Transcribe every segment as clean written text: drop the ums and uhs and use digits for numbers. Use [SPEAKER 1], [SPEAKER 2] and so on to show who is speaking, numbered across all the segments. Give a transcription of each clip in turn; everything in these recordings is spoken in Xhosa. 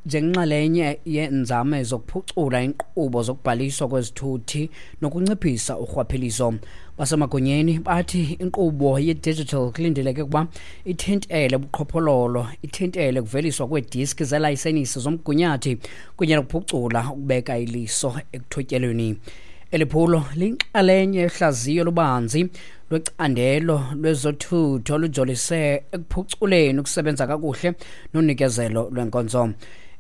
[SPEAKER 1] Njengenxalenye yeenzame zokuphucula iinkqubo zokubhaliswa kwezithuthi nokunciphisa urhwaphilizo, basemagunyeni bathi inkqubo ye-digital kulindeleke ukuba ithintele ubuqhophololo, ithintele ukuveliswa kweediski zelayisenisi zomgunyathi kunye nokuphucula ukubeka iliso ekuthotyelweni. Eli phulo liyinxalenye yohlaziyo olubanzi lwecandelo lwezothutho olujolise ekuphuculeni ukusebenza kakuhle nonikezelo lwenkonzo.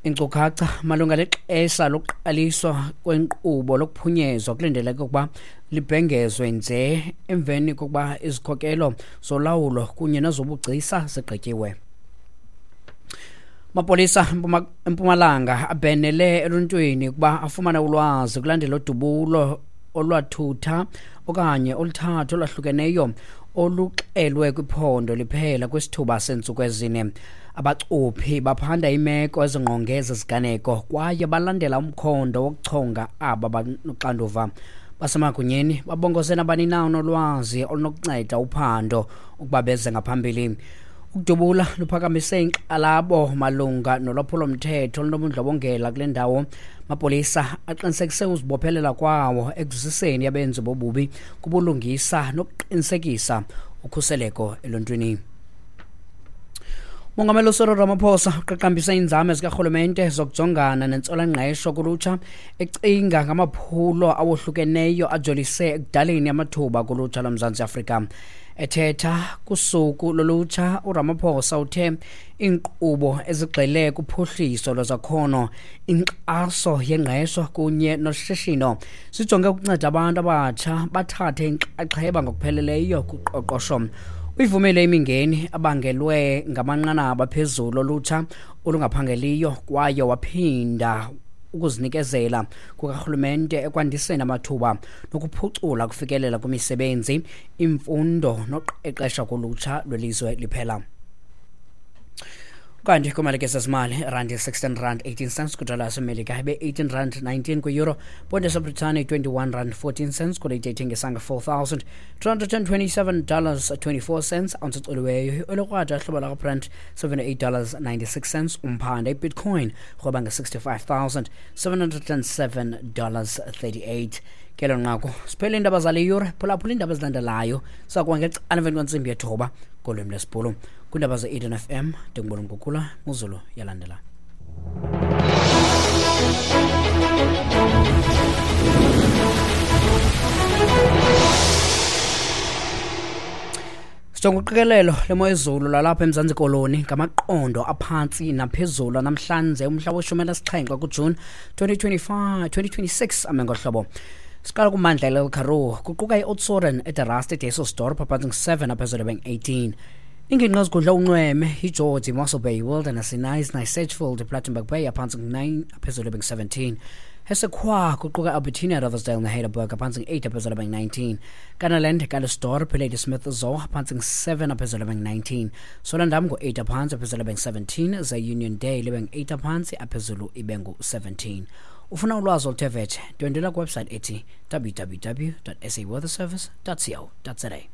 [SPEAKER 1] Inkcukacha malunga nexesha lokuqaliswa kwenkqubo lokuphunyezwa kulindeleke ukuba libhengezwe nje emveni kokuba izikhokelo zolawulo kunye nezobugcisa zigqityiwe. Amapolisa eMpumalanga abhenele eluntwini ukuba afumane ulwazi kulandela udubulo olwathutha okanye oluthathu olwahlukeneyo oluxelwe kwiphondo liphela kwisithuba seentsuku ezine. Abacuphi baphanda imeko ezingqonge ezi ziganeko kwaye balandela umkhondo wokuchonga aba banoxanduva. Basemagunyeni babongoze nabani na onolwazi olunokunceda uphando ukuba beze ngaphambili. Ukudubula luphakamise inkxalabo malunga nolwaphulomthetho olunobundlobongela kule ndawo. Amapolisa aqinisekise uzibophelela kwawo ekuziseni abenzi bobubi kubulungisa nokuqinisekisa ukhuseleko eluntwini. Mongameli uCyril Ramaphosa uqaqambise iinzame zikarhulumente zokujongana nentswelangqesho kulutsha, ecinga ngamaphulo awohlukeneyo ajolise ekudaleni amathuba kulutsha loMzantsi Afrika. Ethetha kusuku lolutsha, uRamaphosa uthe iinkqubo ezigxile kuphuhliso lwezakhono, inkxaso yengqesho kunye noshishino sijonge ukunceda abantu abatsha bathathe inxaxheba ngokupheleleyo kuqoqosho. Uyivumile imingeni abangelwe ngamanqanaba aphezulu olutsha olungaphangeliyo kwaye waphinda ukuzinikezela kukarhulumente ekwandiseni amathuba nokuphucula ukufikelela kwimisebenzi, imfundo noqeqesho kolutsha lwelizwe liphela. Kanti kwimalike zezimali, irandi 16 rand 18 cents kwidola yasemelika, ibe 18 rand 19 kwi-euro, ponde yaseBritane 21 rand 14 cents kwileyiti ethengisa nge-$4,227 24 cents ounce ecoliweyo. Olukrwada hlobo lakwaBrent 78 dollars 96 cents umphanda. Ibitcoin rhweba nge-$65,707 38. Kelo nqaku siphele iindaba zale yure. Phulaphula iindaba ezilandelayo sakuba ngecala emveni kwentsimbi yethoba ngolwimi lwesiBhulu kwiindaba ze-Eden FM. Ndingubona Mgugula Muzulu yalandela. Sijonga uqikelelo lemo yezulu lalapha eMzantsi Koloni ngamaqondo aphantsi naphezulu namhlanje umhla weshumi elinesixhenxe kuJuni 2025 2026 ame ngohlobo. Siqala kumandla eLille Karoo, kuquka i-Oudtshoorn, eDe Rust, eDysselsdorp, aphantsi ngu-7, aphezulu beng-18. Ingingqi ezigudla unxweme iGeorge, iMossel Bay, Wilderness, iKnysna, iSedgefield, iPlattenberg Bay, aphantsi ngu-9, aphezulu beng-17. Hessequa, kuquka Albertina, Riversdale neHeidelberg, aphantsi ngu-8, aphezulu beng-19. Kannaland, Calitzdorp, Ladysmith, Zoar, aphantsi ngu-7, aphezulu beng-19. Swellendam ngu-8 aphantsi, aphezulu beng-17. Ze Uniondale ibe ngu-8 aphantsi, aphezulu ibe ngu-17. Ufuna ulwazi oluthe vetshe, ndwendwela kwiwebsite ethi www saweatherservice co za.